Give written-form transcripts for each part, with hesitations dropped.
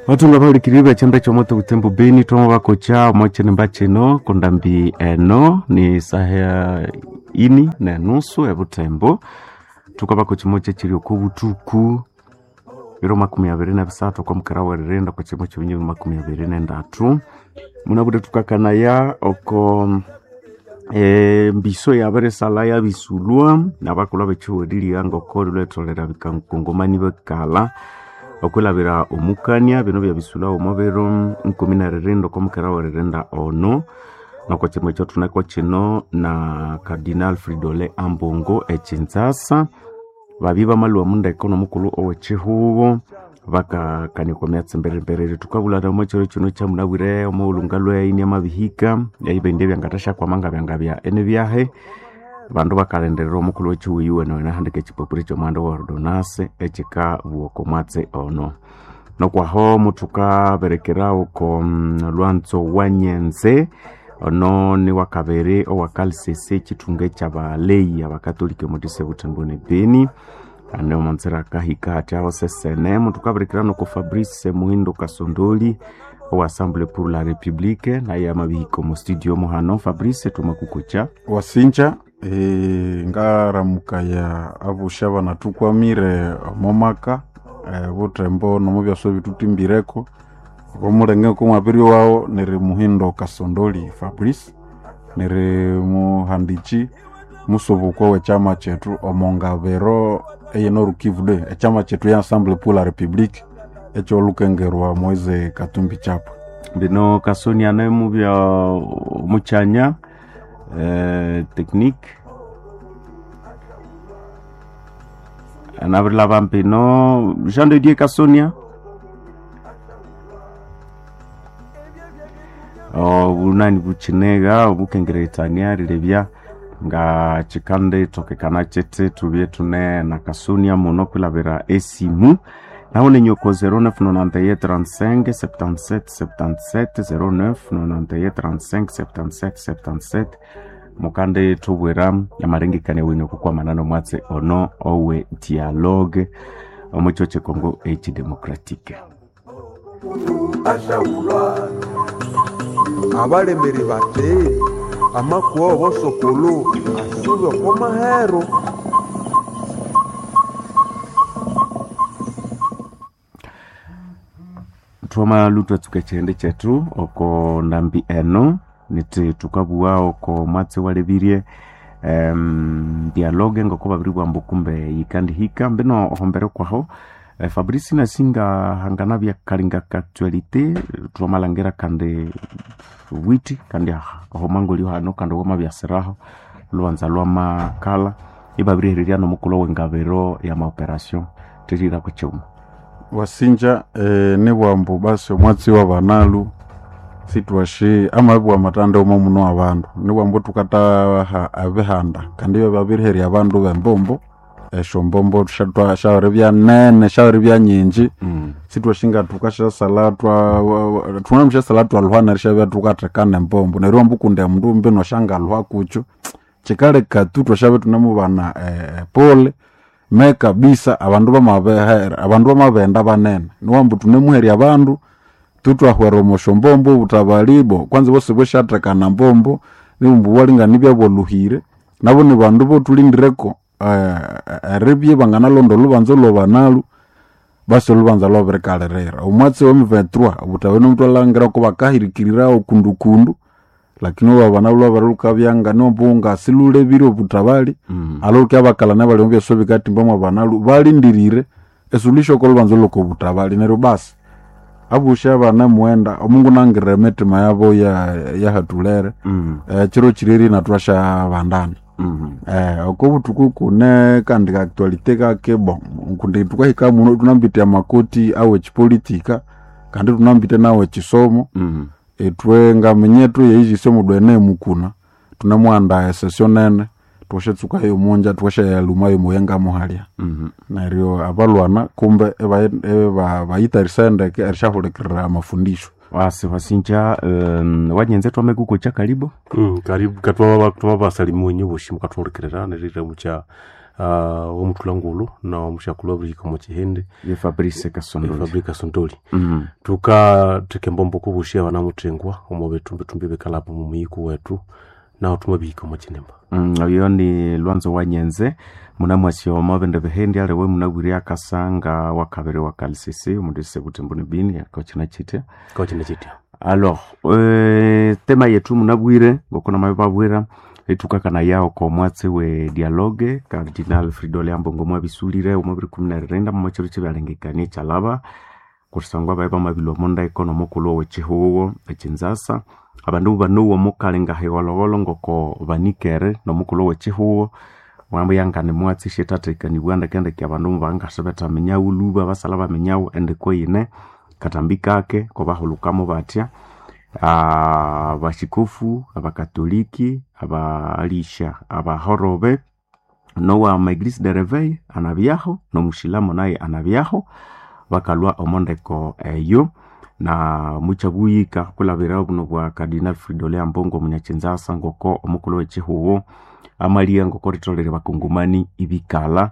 Vatunga vahulikiriri vechembe chomoto kutembo beni twama vakocha omochinemba chino kundambi eno ni saha ini nenusu ebutembo tukavakocha moche chiri oko butuku biro 23 kwa mukara weririnda kwa chimo chibinyi 23 munabude tukakanaya oko mbiso yabirisala yabisulwa nabakulwa bechiweriria ngoko lwetolera bikangongomani bekala okwilabira omukania bino byabisulwa omo biro 14 okwamukera weririnda ono noko chimo ekyo thuneko kino na Cardinal Fridolin Ambongo ekinzasa babi bamalwa mundeko nomukulhu owechihubo bakakanikwa myatsi mberemberere tukabulana omo chiro kino kyamunabwire omughulunga lweyi amabihika eibende byangathasyakwa nga byangabya enibyahe bandu bakalindirira omukulhu wechihuyi wene wene ekipapuro ekyomuhanda wa ordonance ekikabuwa oko mwatsi ono nokwaho muthukaberekera oko lwanzo wa nyenze ono ni wakabiri owakalsese ekithunga ekyabaleyi abakatolika omudise butembo ne beni ane omonzera akahika hathi aho sesene muthukaberekera noko Fabrice Muhindo Kasondoli owa Assemblée pour la République naye amabihika omu studio muhano. Fabrice, tumakukucha. Wasinja ngaramukaya abusha banathukwamire omomaka butembo nomubyasa ebithutimbireku omulenge kumwabiri wawu niri Muhindo Kasondoli Fabrice niri muhandichi musubukwa wekyama kyethu omongabiro eye Nord Kivu de ekyama kyethu ya Assemblée pour la République ekyolukengerwa Moise Katumbi Chapwe. Bino Kasoni ane mubya muchanya technique anabirilaba mpino Jean de Dieu Kasonia obunani bukinega obukengeretania rilebya nga kikande tokekana kyete tubye tune na Kasonia muno kwilabira esimu naho nenyoko 0991 35 77 77 0991 35 77 77 mukande tubwira amarengekania wenyu okukwamana nomwatsi ono owe dialogue omukyo kyekongo ekidemocratique. Ashaulwa abalemeri bate amakuwa obosokolo asube oko mahero. Twamalu twatsuka ekyihindi kyethu oko ndambi eno nithi thukabugha oko mwatsi walebirie dialogue ngoko babiribugha ambu kumbe yikandihika mbino ohombere kwaho Fabrice nasinga hangana byakalinga ka actualité twamalhangira kandi witi kandi ahomangolio hano kandi wamabyasiraho olhubanza lwamakala ibabirihererya nomukulhu owengabiro ya maoperation thirira kukyuma. Wasinja nibwambu basi omwatsi wabanalu sitwashi amabwa amatanda omo muno abandu nibwambu tukataha ebihanda kandi ibyo babiriherya abandu bembombo esyombombo syabiribya nene syabiribya nyingi. Sitwashinga tukasyasalha thunamusyasala twalhuha neryo syabya thukathekana embombo neryo iwambu kundi omundu mbino syangalhuha kukyo kyikaleka tu thwasyabya thunamubana pole me kabisa abandu bamabehera abandu bamabenda banene niwambu thunemuherya abandu tutwahwera omosyombombo obutabalibo kwanza bosi bwesyathekana mbombo nibumbu walingana ibyabwaluhire nabo nibandu bothulindireko eribya banganalonda olhubanza olwabanalu basi olhubanza lwabirikalirira omwatsi wa M23 obutabani omutwalhangira ko bakahirikirira okundukundu lakini olwabana lwabirilhukabyanga niwambu silulebire obutabali alolukya bakalana bali omubyasa bikatimba mwabanalu balindirire esuluhisho okolubanza olwokobutabali neryo basi abusha abana mughenda omungu nangirira emitima yabo yahathulere chiro chireri nathwashabandana oko buthuku kune kandi ka actualité kake bon kundi thukahika muno thunambite amakoti awe chipolitika kandi thunambite nawe chisomo ithwe ngaminyethu yeijisyo omundu ene mukuna thunemughanda esession nene thwashatsukayo omunja thwashayalumayo omuyenga muhalya neryo abalwana kumbe bayitharisaya ndeke erisyahulikirira amafundisho. Wasi wasinja wanyenze twamekukucha karibu. Karibu katwaba twabasalimu enye boshi mukathuhulikirira neririra mukya. Womuthulangulu na omusyakulu wabirihika omo kihindi. Ye Fabrice Kasondoli. Fabrice Kasondoli. Tukatheka embombo kubushi abanamuthengwa omo bithumbi bikalapa omu muyiku wethu naho thumabihika omo kinimba. Oyo ni Lwanzo wa Nyenze munamwasi omo bindi bihindi aliwe munabwire akasanga wakabiri wa Kalsisi omundu Butembo ne Bini kochina chitya. Kochina chitya. Alors, tema yetu munabwire ngoko namababwira etukakana yao ko mwatsi we dialogue Cardinal Fridolin Ambongo mwabisulire omu 2019 mu chiro chibyalengekania kyalaba kusangwa bae bamabilwa omo ndeko nomukulhu owechihuwo ekinzasa abandu banowa omukali ngahiwolowolo ngoko banikere nomukulhu owechihuwo mwambuyangane mwatsi shethathekanibwa ndekendeke abandu mubangasibethaminyagho lhuba basalha baminyagho endeko yine katambi kake kobahulukamo batya abashikofu abakatoliki abalisha abahorobe nowa maeglise de reveil anabyaho nomushilamu naye anabyaho bakalwa omondeko eyo na mukyabuyika kulabira obuno bwa Cardinal Fridolin Ambongo omunyakinzasa ngoko omukulhu wekihuwo amalia ngoko ritholere bakungumani ibikalha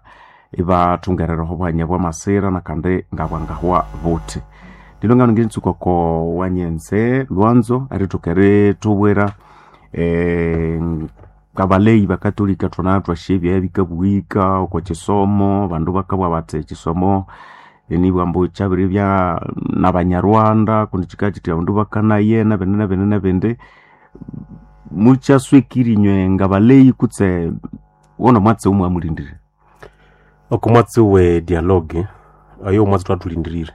ibathungerereho obwanya bwamasira nakandi ngabwangahwa buthi ndilo ngano nginitsuka oko wanyenze Lwanzo erithoka erithubwira kabaleyi bakatolika thuna thwasya bikabuhika oko kisomo abandu bakabugha bathi ekisomo nibwambu kyabiribya nabanyarwanda kundi kikabya kyithi abandu bakanaye nabindi nabindi nabindi mukyaswekire inywe ngabaleyi kutse wono mwatsi omwamulindirire? Oko mwatsi we dialogue ayo omwatsi thwathulindirire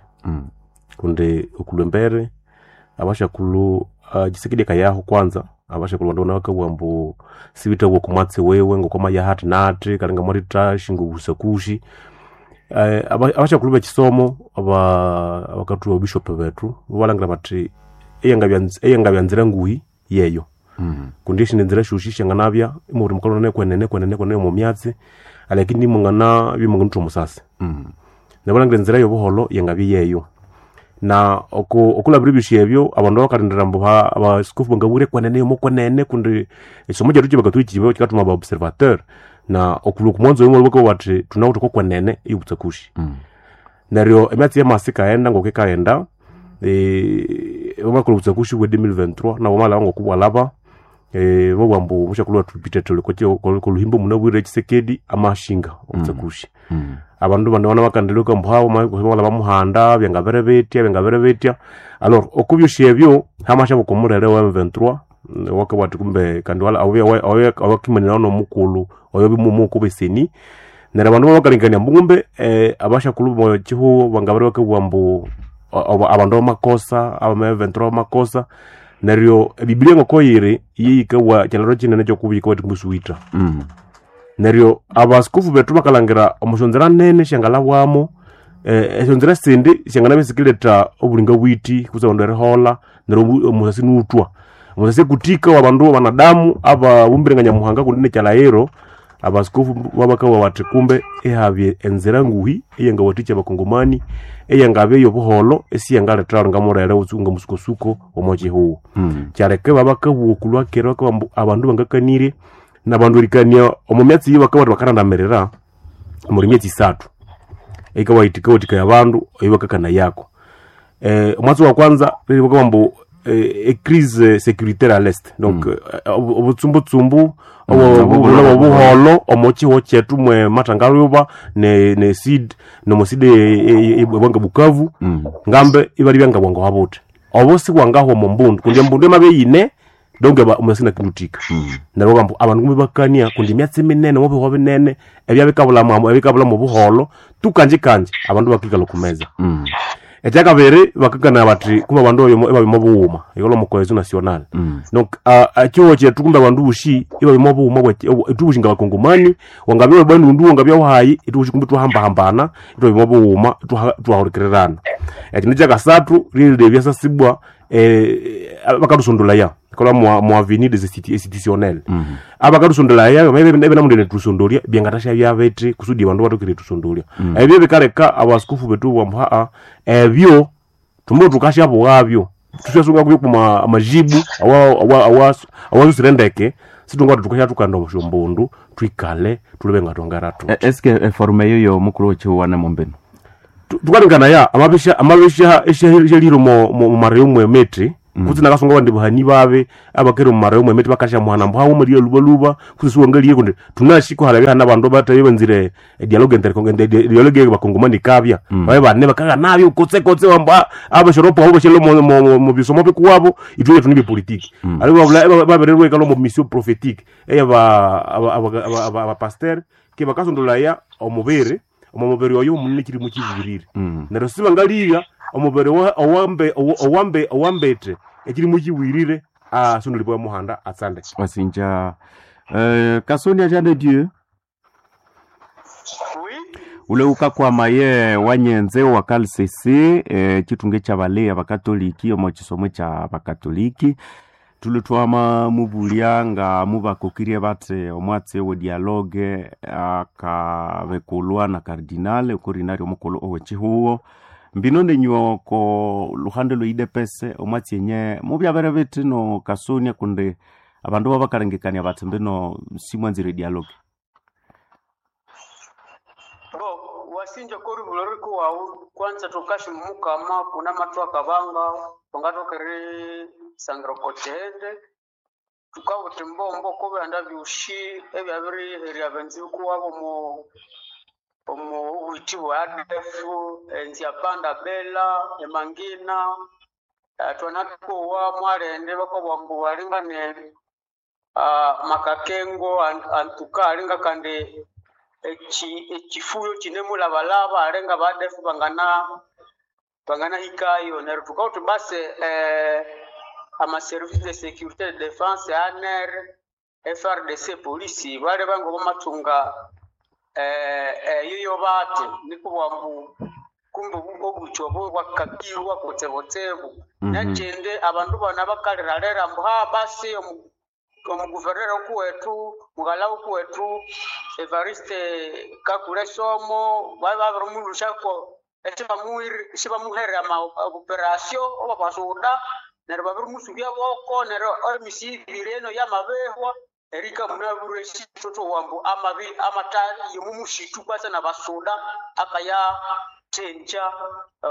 kundi okulwa embere abashakulhu Tshisekedi akayaho kwanza abashakulhu bandu bakabugha ambu sibithabugha oko mwatsi wiwe ngokwamaya hathi nathi kali ngamwathetha ngobusakushi. Abashakulhu bekisomo abakathuwa ababishop bethu bobalhangira bathi eyangabya nzira nguhi yeyo kundi esindi nzira syosi syanganabya imubiri mukalhwana kwenene kwenene kwenene omo myatsi alakini imunganabya imunganutha omusasi. Neryo balhangira enzira yobuholho yangabya yeyo na okulabira ebyosi ebyo abandu bakalindira ambu abasikofu bangabwire kwenene yomo kwenene kundi ekisomo kyethu kyabakatoliki kikathuma aba observateur na okulhwa okumwanzo oyo bakabugha bathi thunawithe oko kwenene eyobutsakushi. Neryo emyatsi yamasa ikaghenda ngoko ikaghenda bamakolha obutsakushi bwe 2023 nabo bamalhaba ngoko bwalhaba babugha ambu omusyakulhu wethu Peter Tole koluhimbo munabwire Tshisekedi amashinga obutsakushi. Abandu bandi banabakandirirwa ambu hawu bamalhaba muhanda byangabere bitya byangabere bitya alors okubyosi ebyo hamasyabuka omulere wa M23 wakabugha athi kumbe kandi awakimanirawa nomukulhu oyo bimumu beseni neryo abandu babakalengekania ambu kumbe abasyakulhu bomo kihugho bangabere bakabugha ambu abandu bamakosa abama M23 bamakosa neryo ebibilia ngoko yiri yeyikabugha kyalharo kinene kyokubika yithi kumbe siwitha. Neryo abasikofu bethu bakalhangira omusyonzira nene syangalhabwamo esyonzira esindi syanganabya isikiletha obulinga bwithi kutse abandu eriholha neryo omusasi niwuthwa. Omusasi ekuthika wabandu banadamu ababumbire nga Nyamuhanga kundi nekyalhaghiro abasikofu babakabugha bathi kumbe ihabya enzira nguhi eyangawathikya abakongomani eyangabya eyobuholho esiyangaletha nga mulere nga musukosuko omo kihugho. Kyaleka ibabakabugha okulhwa kera bakabugha ambu abandu bangakanirye nabandu erikania omo myatsi eyi bakabugha bathi bakarandamirira omuli myatsi isathu eyikawathikaya abandu eyibakakanayako. Omwatsi wa kwanza bakabugha ambu ecrise sécuritaire à l'est donc obutsumbutsumbu obuholho omo kihugho kyethu mwe mathangalhuba ne seed nomo seed ebwanga Bukavu ngambe ibalibya ngabwangahwa buthi obo sibwangahwa omo mbundu kundi embundu yamabya iyine donc omusasi inakinuthika. Neryo babugha ambu abandu kumbe ibakania kundi emyatsi minene omo bihugho binene ebyabikabulhamu obuholho tu kanji abandu bakikalha oku meza. Ekyakabiri bakakanaya bathi kumbe abandu ibabya omo bughuma erilhwa omo cohesion nationale donc ekihugho kyethu kumbe abandu bosi ibabya omo bughuma ithwe bosi ngabakongomani wangabya webandundu wangabya wahayi ithwe bosi kumbe ithwahambahambana ithwabya omo bughuma ithwahulikirirana. Ekindu kyakasathu lyerirebya sasibwa bakathusondolaya kolha mu avenir des institutionnel abakathusondolaya ebinamundu erithusondolya byangathasya bithi kusudi abandu bathoke erithusondolya. Ebyo bikaleka abasikofu bethu ibabugha ambu ebyo thumbi thukasyabughabyo thusyasunga kubyo kuma amajibu awasusire ndeke. Situnga tukasha tukanda omusyombundu twikale tulebe nga twangara tu. Eske eforume eyo yomukulu wechihuwa nemombino? Tukalingana amabisha amabisha eshaliro mo mara yomwe emiti kutsi nakasunga abandi bahani babe abakere mu mara yomwe emiti bakasha muhana mbu hawo maliya luba luba kutsi siwangaliye kundi tunashiko halabya hana abandu bataye banzire dialogue interkongo dialogue bakongomani kabya babe bane bakaga nabyo kotse kotse wamba abashoropo abo bashelo mu bisomo bikuwabo itwe tuni politiki ali babula babererwe kalo mu mission prophétique eya ba aba pasteur ke bakasondolaya omubiri omubiri oyo omunene kiri mukibirire neryo sibangaliya omubiri owambe owambe owambete ekiri mukiwirire asondolibwa muhanda atsande. Wasinja Kasonia Jean de Dieu. Oui. Ule ukakwama ye wanyenze wa kalsese chitunge cha bale abakatoliki omo chisomo cha bakatoliki tuli twama mubulya nga mubakokirie bate omwatse we dialogue akabekulwa na kardinale okorinari omukulu owechihuo mbino nenyuo ko luhande lweidepese omwatsi enye mubyabere biti no Kasonia kundi abandu babakarengekania bati mbino simwanzire dialogue. Bo wasinja kori bulori kuwawu kwanza tukashi mukama kuna matu akabanga tungatokere sangira kochende tukabuta mbombo kobyanda byushi ebyabiriherya benzi kuwabo mu omu obwiti bwa ADF enzya panda bela emangina twanatukowa mwarende bakabwa mbu balingane makakengo antuka alinga kandi ekifuyo kinemulabalaba alenga badefu bangana bangana hikayo neryo tukauti basi amaservice de sécurité de défense ANR FRDC polisi bale bango bamatunga eyo bate nikubwa mbu kumbe obucho obo bwakakirwa kutsebutsebu. Nekindi abandu bana bakaliralera mbu ha basi omuguvernera okuwetu mughala okuwetu Evariste Kakule Somo babe babirimulusako esibamuhere ama operation oba basuda neryo babirimusubya boko neryo emisi ibiri eno yamabehwa erika munabure esitoto wambu amabi amata yomumushitu kwasa nabasuda akaya thenja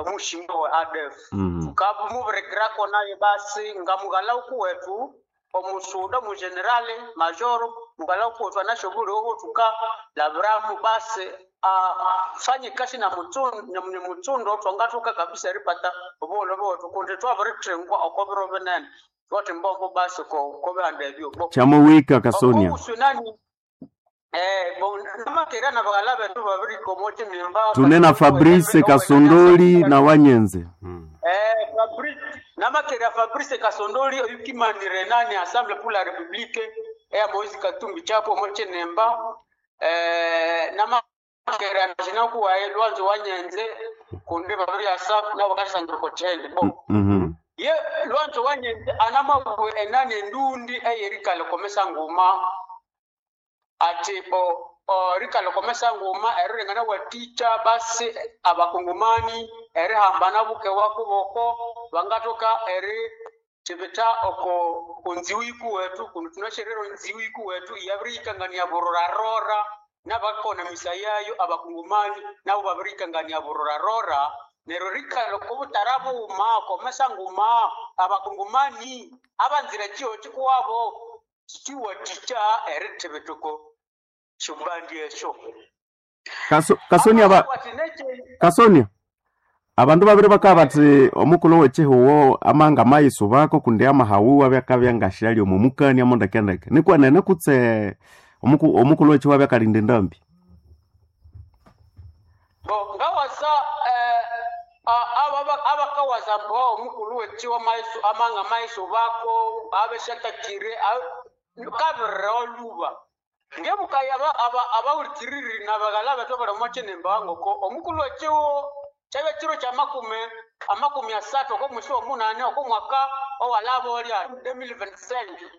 mushinga wa ADF. Tukamubirekirako naye basi nga mughala okuwetu omusuda mugenerale majoro mughala okuwetu anashobuli obo tukalabiramu basi afanye kasi na mutsundo twangatoka kabisa eripata obugholo bwetu kundi twabirithengwa okobiro binene twati mbombo basi kobihanda ebyo. Chamowika Kasonia. Obusunani namakera na baghala betu babiri komote nimba tunena Fabrice Kasondoli na Wanyenze. Fabrice namakera Fabrice Kasondoli oyukimanire nani Assemblée pour la République eya Moise Katumbi Chapo moche nemba namakera najina kuwaye Lwanzo Wanyenze kundi babiri asafu nabo kasangire kochende bo. Ye Lwanzo Wanyenze anamabwe enani endundi eyerikale komesa nguma ati bo rikale komesa nguma erilengana bwaticha basi abakongomani erihambana buke wakuboko bangatoka eri chibita oko kunziwiku wetu kuno tunasherero nziwiku wetu yabirikangania burorarora nabakona misa yayo abakongomani nabo babirikangania burorarora neryo rikale kobutara buuma komesa nguma abakongomani abanzira chiho chikuwabo chiwaticha eritibitoko shubandi esho. Kasonia ba Kasonia abandu babiri bakaba bati omukulu wechihuwo amanga mayiso bako kundi amahawu abyakabya ngashali omumukani amondekendeke nikwenene kutse omukulu wechihuwo abyakalinda endambi. Bo ngawasa abakawaza mbo omukulu wechiwa maiso amanga maiso bako abeshatakire kabirira oluba ngebukaya abawulikiriri nabaghala betu abali omo ngoko omukulu wechiwo kyabya kiro kya amakumi asatu okw'omwisi omunane okw'omwaka owalaba olya 2025.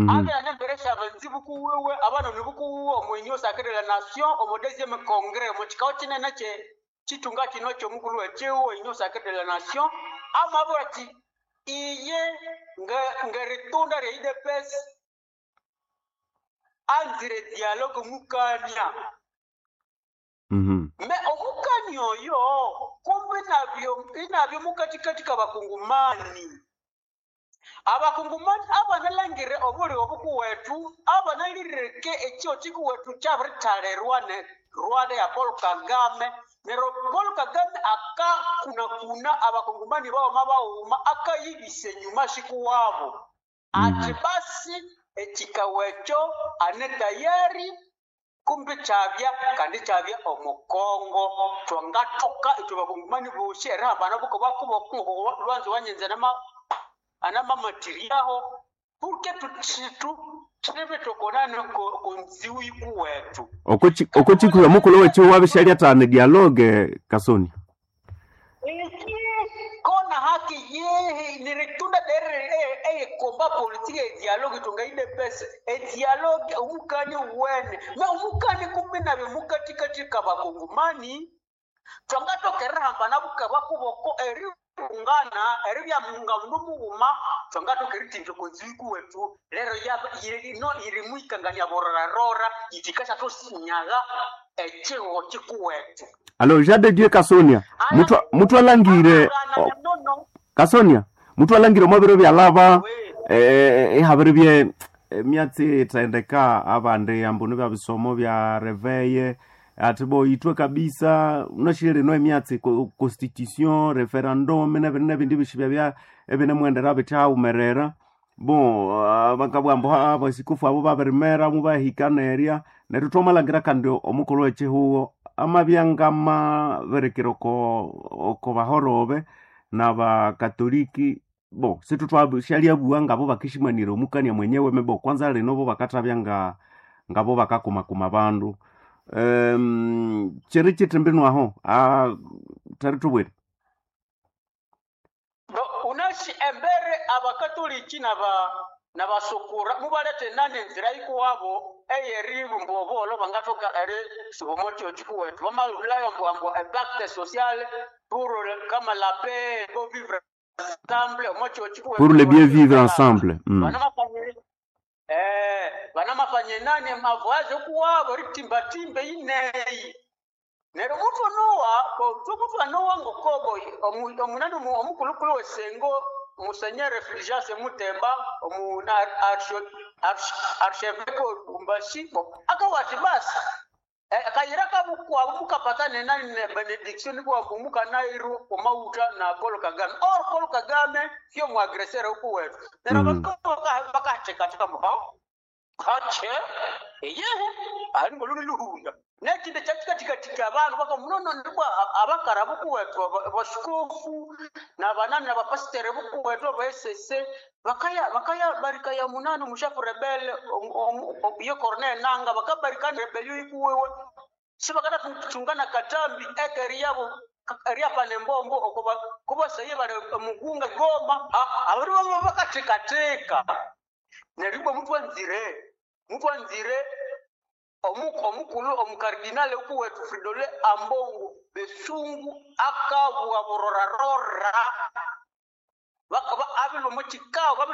Abya nemberesha abanzibu kuwiwe abanoni bukuwiwe omu Union Sacrée de la Nation omu deuxième congrès omu kikao kinene kye kitunga kino ky'omukulu wekiwo Union Sacrée de la Nation amabwira ati iye ngeritunda rya UDPS. Anzire dialogue mukania. Me omukani oyo kumbe inabyo mukatikati kabakungumani. Abakungumani abanalangire obuli obukuwetu abanalireke ekyo kikuwetu kyabirithalerwa ne Rwanda ya Paul Kagame. Neryo Paul Kagame akakunakuna abakungumani bawoma bawuma akayibisa enyuma shikuwabo. Ati basi ekikawekyo ane tayari kumbi kyabya kandi kyabya omukongo twangatoka ithwe bakungumani bosi erihambana bukobakubo lwanzo wanyenze anamamatiriaho purke tutibitokonane konziwu ikuwetu. Okochikuya mukulu wecho wabishalya tane dialogue Kasoni. Iki kona haki yehe niritunda dere eyekomba politiki edialogue tungaide pesa edialogue omukani wene me omukani kumbi nabyo mukatikati kabakongomani twangatoka hambana bukaba kuboko erihungana eribya munga mundu mughuma twangatoka eritinja konziwiku wetu lero ino irimwikangania bororarora itikasha tosinyaga ekiho kikuwetu. Alo Jean de Dieu Kasonia, muthu alangire Kasonia, muthu alangire omwabiro byalaba ihabiri bye myatsi ithendeka abandi ambunu bya bisomo bya reveye ati bo itwe kabisa unashire no emyatsi constitution referendum nebindi bishibya bya ebinemwendera bithawumerera bo bakabwambo abasikufu abo babirimera mubahikanerya neryo twamalhangira kandi omukulhu w'ekihugo amabyangama berekera oko bahorobe n'abakatoliki bo situtwashalyabuwa ngabo bakishimanira omukania mwenyewe mebo kwanza lino bo bakathabya ngabo bakakumakuma bandu chiri chitimbinwaho tari tubwire unashi embere abakatoliki nabasukura mubalete nane enzira ikuwabo eyeribumba obolo bangathoka eri sibomocho chikuwetu bamalulayo mbwambwa epacte sociale pour kama la paix pour vivre ensemble omocho chikuwetu pour le bien vivre ensemble. Banamafanye nane mavoyaje kuwabo ritimbatimbe ineyi neryo muthu nowa muthu anowa ngokobo omunani omukulukulu wesengo Monseigneur Fulgence Mutemba omuna archevêque Lubumbashi akawati basi kayira kabukwabo mukapatane nani ne benediction bwabo mukanairu omauta na Paul Kagame or Paul Kagame sio muagresseur huku wetu neryo bakathekatheka mbo kache eyehe ali ngoluni luhunda nekindi kyakikathikathika abandu bakamunono nibwa abakara bukuwethu basikofu nabanani nabapasitere bukuwethu abaesese bakaya bakaya barikaya munani omushafu rebele yo Corneille Nanga bakabarikana rebelio ikuwewe sibakanathungana katambi ekeri yabo eriapana embombo okubasaye bali mugunga Goma abandu baba bakathekatheka neryo ibwa muthu anzire omukulu omukardinale ukuwetu Fridolin Ambongo Besungu akabwa burorarora abilwa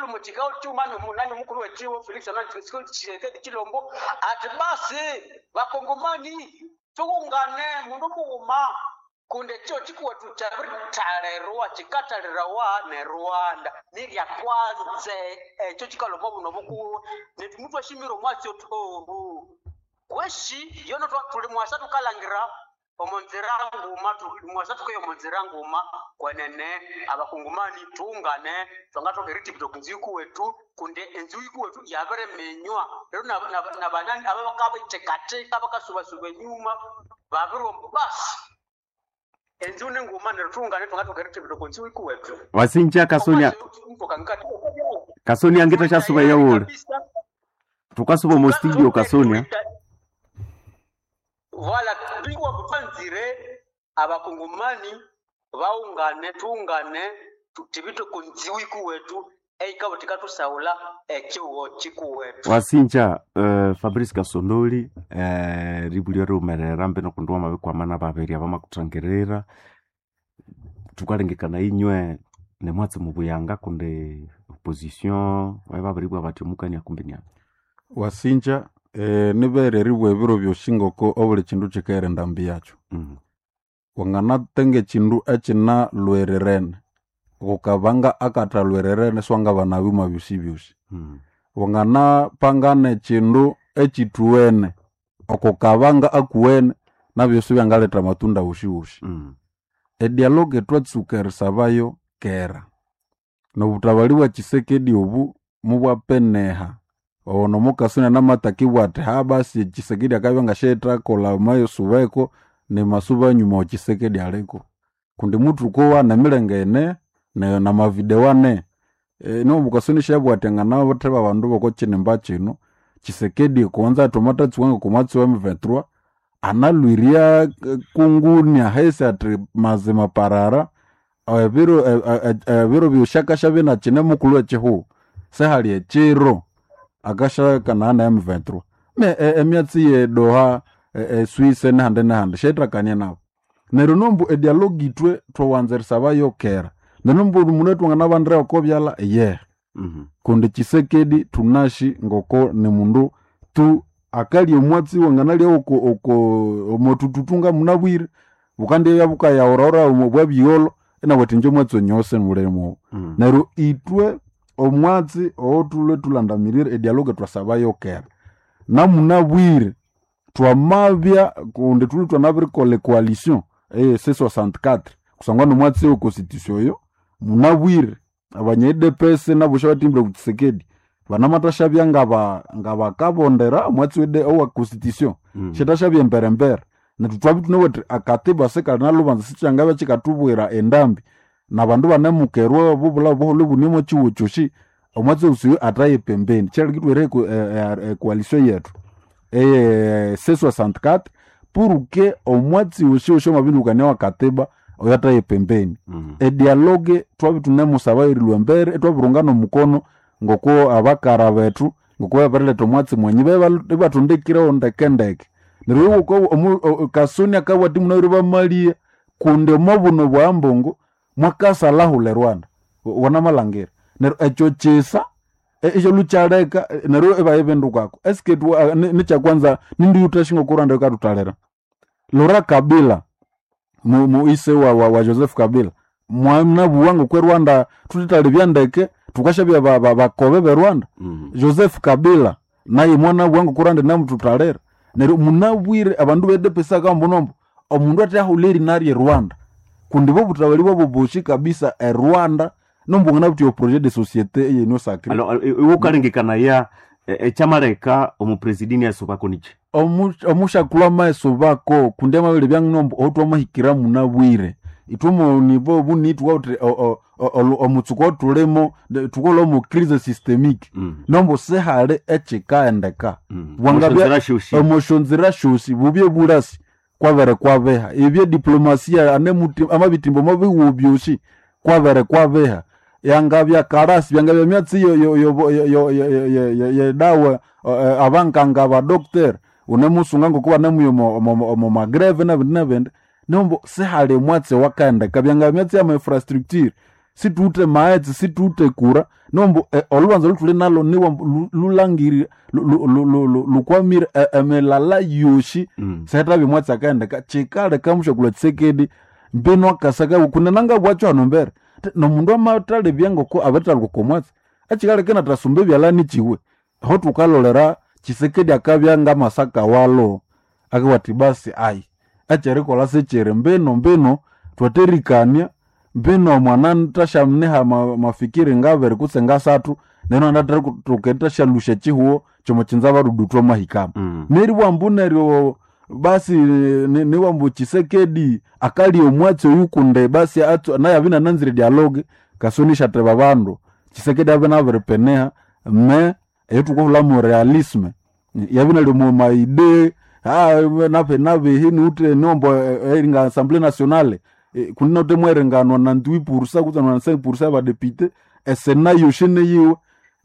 mukikawo kyuma nomunani omukulu wekiwo Felix Anani Tshisekedi Tshilombo ati basi bakongomani tughungane mundu mughuma kundi ekyo kikuwetu kyabirithalerwa kikathalirawa ne Rwanda nirya kwanze ekyo kikaloma obuno bukuwe nethu muthu ashimire omwatsi othi ohu kweshi yono tuli mwasa tukalangira omonzira nguma mwasa tukeya omonzira nguma kwenene abakungumani tuungane twangathoka eritibita okunzu ikuwetu kundi enzu ikuwetu yabiriminywa rero nabanani ababakabithekatheka bakasubasuba enyuma babiromba basi enzu nenguma neryo tuungane twangathoka eritibita okunzu ikuwetu. Wasinja Kasonia Kasonia ngita kyasuba yawule tukasuba omu studio Kasonia. Voilà, bingwa bupanzire abakungumani baungane tuungane tutibite kunziwi kuwetu eikabo tikatusaula ekiwo kikuwetu. Wasinja Fabrice Kasondoli ribulio riumerera mbino kundi wamabikwamana babiri abamakutangirira tukalengekana inywe nemwatsi mubuyanga kundi opposition babiribwa bati omukania kumbi niana. Wasinja Nibere eribugha ebiro byosi ngoko obuli kindu kikaghera endambi yakyo. Wanganatenga ekindu ekinalhwirirene, ghukabanga akathalhwirirene siwangabana byuma byosi byosi. Wanganapangana ekindu ekithuwene okukabanga akuwene nabyo sibyangaletha amatunda woshiwoshi. Edialogue twatsuka erisabayo kera. Nobuthabali bwa Tshisekedi obu mubwapeneha. Ono mukasuna namatakibwa ati ha basi Tshisekedi akabya ngasyaithakolha amayisubeko nemasuba anyuma wa Tshisekedi aliko. Kundi muthukowa nemilenge ine namavideo ane. Nomukasoni syabugha ati anganatheba abandu b'okokinimba kino, Tshisekedi kuwanza thwamathatsuka ng'okomwatsi wa M23 analhwirya kunguni ahisi ati mazima parara ebiro ebiro byosi akashabya inakine mukulhu w'ekihugho sihali ekiro akashakanaya na M23. Emyatsi ye Doha, e Swiss nehandi nehandi syayithakania nabo. Neryo nombu edialogue ithwe thwawanza erisabayo kera. Neryo nombu mundu thwanganabandira oko byalha yehe. Kundi Tshisekedi thunashi ngoko ni mundu tu akalya omwatsi wanganalya oko oko omwathututu munabwire bukandibya bukayahurahura omo bwabyigholho inabugha athi inje omwatsi onyose mulimo. Neryo ithwe omwatsi owothulwe thulandamirire edialogue thwasabayo kera. Namunabwire twamabya kundi thulwe thwanabirikolha ecoalition eye C64 kusangwa nomwatsi we constitution oyo munabwire abanya UDPS nabo syabatimbire ku Tshisekedi banamathashabya ngabakabondera omwatsi owa constitution syathasyabya emberembere. Nethu twabya thunabugha thuthi akatiba sikali nalhubanza sikyangabya kyikathubwira endambi nabandu banemukerwa obubulha buholho ibune omo kihugho kyosi omwatsi osi oyo athaye pembeni. Kyaleka ithwera ecoalition yethu eye C64 pour que omwatsi woshiwoshi wamabindukania wa katiba oyo athaye pembeni. Edialogue twabya thunemusabayo erilhwa embere ithwabirungana omukono ngoko abakara bethu ngoko babiriletha omwatsi mwenyi ibathundikirewo ndekendeke. Neryo Kasoni akabugha athi munabwire bamaligha kundi omo buno bwa Ambongo mwakasalhahulha e Rwanda wanamalhangira. Neryo ekyo kisa ikyalhukyaleka neryo ibayibindukako. Eske nikyakwanza nindi yuthasyi ngoko Rwanda yikathuthalira. Laurent Kabila ise wa Joseph Kabila mwanabugha ngoko e Rwanda thuthithalibya ndeke thukasyabya bakobe be Rwanda. Joseph Kabila naye mwanabugha ngoko Rwanda inamuthuthalira. Neryo munabwire abandu be UDPS akambuna ambu omundu athahulha erina rye Rwanda kundi bo obuthabali bwabo bosi kabisa e Rwanda nombu wanganabutha projet de société eye union sacrée. Alors iwe ukalengekanaya ekyamaleka omupresidini asubako niki? Omushakulhu amaghesubako kundi amabere nombu ohuthwamahikira munabwire. Ithwe omo niveau obuni thuwawithe omutsuku othulimo thukolha omo crise systemique. Nombu sihali ekyikaendeka. Wangabya omosyonzira syosi bubye bulasi kwabere kwabiha. Ebye diplomasia amabitimba omo bihugho byosi kwabere kwabiha. Yangabya karasi byangabya emyatsi yedawa abankanga abadoctor unemusunga ngoko banemuya omo magreve nabindi nabindi nombu sihali omwatsi owakaendeka. Byangabya emyatsi yama infrastructure situwithe maghetse situwithe kura nombu olhubanza olhuthuli nalhu niwambu lhulangirire lhukwamire emilala yosi sihathabya omwatsi akaendeka. Kyikaleka mushakulhu Tshisekedi mbinu akasaka kundi nangabwakyo hano embere nomundu amathalebya ngoko abirithalhuka oko mwatsi ekyikaleka inathasumba ebyalani kyiwe. Aho thukalolera Tshisekedi akabya ngamasaka walho akabugha athi basi ayi ekyerikolha sikyiri mbinu mbinu thwatherikania mbinu mwanathasyaniha mafikiri ngabiri kutse ngasathu neryo inanathoka erithasyalhusya ekyihugho kyomukyinza badudu thwamahikamu. Neribugha ambu neryo basi nibugha ambu Tshisekedi akalya omwatsi oyu kundi basi naye abya inananzire dialogue Kasoni isyatheba abandu. Tshisekedi abya inabiripeneha me eyithukahulhamu realisme yabya inali omo maidée nabihi niwuthe niwambu eringa Assemblée nationale kundi inawithe mweringa 98% kutse 95% yabadepite esena yosi niyiwe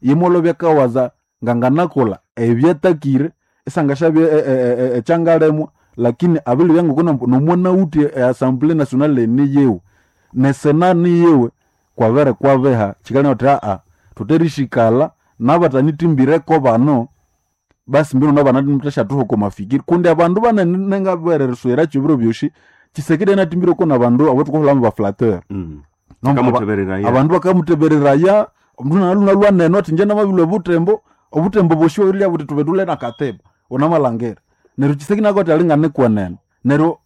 yimwolhobya akawaza nganganakolha ebyatakire isangasyabya ekyangalemwa lakini abilibya ngoko nomwanawuthe e Assemblée nationale niyiwe nesena niyiwe kwabere kwabiha kyikaleka wuthi thutherisikala nabathanithimbireko bano. Basi mbino nabanatashatuha oko mafikiri kundi abandu banene nengabereriswera kyobiro byoshi. Tshisekedi anatimbire ko nabandu abo tukoholamu baflateur. Kamutebereraya. Abandu bakamutebereraya omundu naluna lwanene ati nje namabilwa obutembo, obutembo boshiwa bilya buti tube tule nakateba unamalangera. Neryo Tshisekedi nakoti alingane kwenene neryo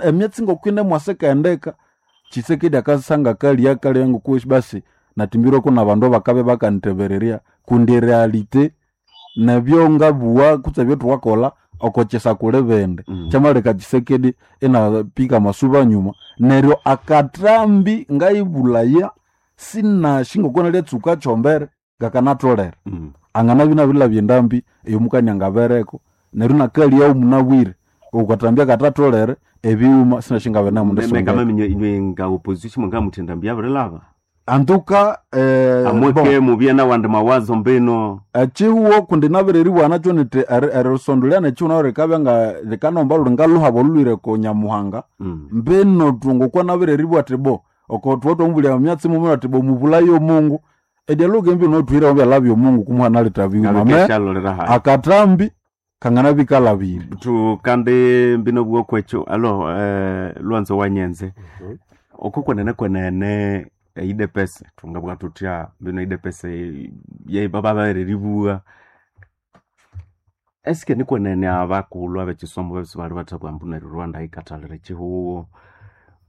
emyatsi ngokwine mwasekaendeka. Tshisekedi akasanga kalya kalya ngokushi basi natimbirwe kuna bandu bakabe bakanitebererya kundi realite nebyo ngabuwa kutse ebyo thukakolha okokyesa kuli bindi. Kyamaleka Tshisekedi inapika masuba nyuma. Neryo akathambi ngayibulaya sinashi ngoko nalyatsuka kyombere ngakanatholere. Anganabya inabirilabya endambi eyomukania ngabereko neryo inakalyawo munabwire okwathambya katatholere ebighuma sinashi ngabenemundisondeka. Ngamaminya inywe nga opposition mungamuthe endambi yabirilaba. Antuka Amweke mubye nawandi mawazo mbino. Ekihuwo kundi nabireribwana kyo niti erisondolya nekihuwo rikabya nga rikanomba luri ngaluhaba olulwire ko Nyamuhanga. Mbino tungokwa nabireribwa ati bo oko thuwa twamubulya emyatsi mumwe ati bo mubulayo omungu edialogue embi notwire byala byomungu kumuha naleta bighuma me Ngabikeshalolera hayi. Akathambi kanganabya ikalabire. Tukande mbino bwokwekyo alo lwanzo wanyenze oko kwenene kwenene eidepese tungabwa tutya mbino idepese yebababereribua eske ni kwenene abakulhu abekisomo bebisi bali bathabwa mbu neryo Rwanda yikathalira ekihuwo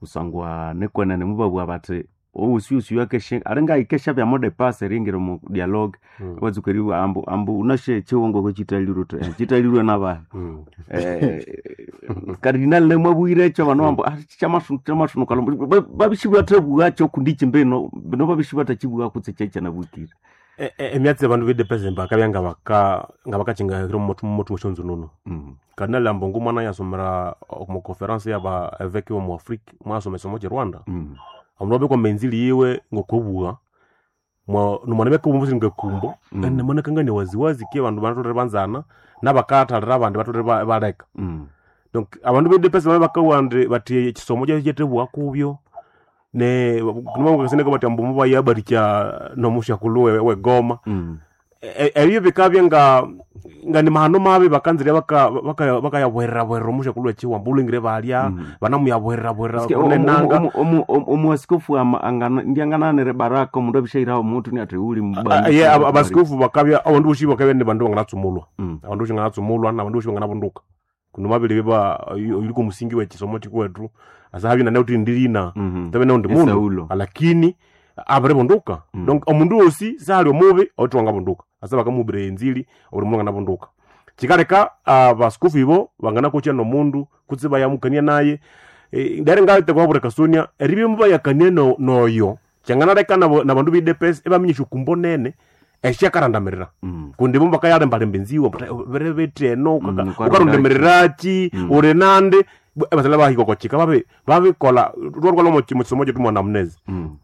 kusangwa nikwenene mubabugha bathi owusyusi akeshe alinga ikesha bya mode pass eringira mu dialogue. Watsuka eribugha ambu ambu unashe ekihuwo ngoko kitalirwe uthi, "Eh, kitalirwe nabahi?" Kardinal nemwabwire ekyo bano bambu "Ah, kyamasunuka babisibwathabugha kundi iki mbino bino babisibwathakibugha kutse kyekyanabukire." Emyatsi abandu b'idepese bakabya nga bakakingahira mumuthu mweshonzo nono. Kardinal Ambongo mwana yasomera omu conference yaba evêque omu Afrique, mwasoma ekisomo kye Rwanda. Omundu abekwa menzili yiwe ngokobugha nomwana beka ngakumbo. Enamanakangania waziwazi ke abandu batholere banzana nabakathalira abandi batholere baleka. Donc abandu b'idepese babe bakawa ndi bati ekisomo kyetebugha kubyo ne nimabakaseneka bati ambu mubayabarikya nomushakulhu wegoma. Ebyo bikabya nga ni mahano mabi bakanzire bakayabuherera omushakulhu wekiwamba ulengire balya. Banamuyabuherera kunenanga. Omuasikofu ndiangananire baraka omundu abishairaho omuntu niathi uli Ye abasikofu bakabya abandu bosi bakabya ni bandu banganatsumulwa. Abandu bosi banganatsumulwa nabandu bosi banganabunduka kuno mabiri biba yuliko musingi wekisomo kikwethu asahabya nanauthi ndirina tabe naundi mundu. Esaulo. Lakini abiribunduka. Donc omundu wosi sahali omubi owuthi wangabunduka asa bakamuhubiraya enzili obuli mundu anganabunduka. Kikaleka abasikofu ibo banganakokya nomundu kutse bayamukania naye. Ndere ngatekwa buri kasonia eribya mubayakania noyo kyanganaleka nabandu b'idepesi ibaminya esyokumbo nene esyakarandamirira. Kundi bo bakayalembalemba enziwa bere bethi eno ukarundamirirachi uri nandi ebasala bahika okochika babikola rwarwala mukisomo kyetu mwana munezi.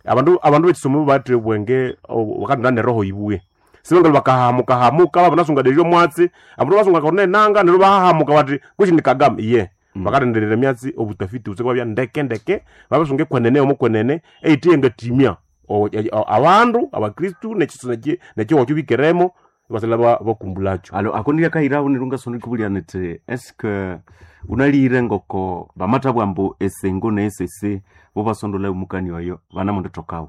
Abandu bekisomo bathi obwenge bakatunda neroho ibuye sibangala bakahamuka hamuka babanasunga dejo mwatsi abandu basunga kone nanga neryo bahahamuka bati kuchi ni Kagame iye. Bakarenderera emyatsi obutafiti butse bwabya ndeke ndeke babasunga ekwenene omo kwenene eyithe ngatimya abandu abakristu nekiho bikeremo basala bakumbulakyo. Alo ako ndiakairaho neryo ngasonda ikubulya niti eske unalire ngoko bamathabwa mbu esengo ne esese bo basondola omukani oyo banamundithokawo?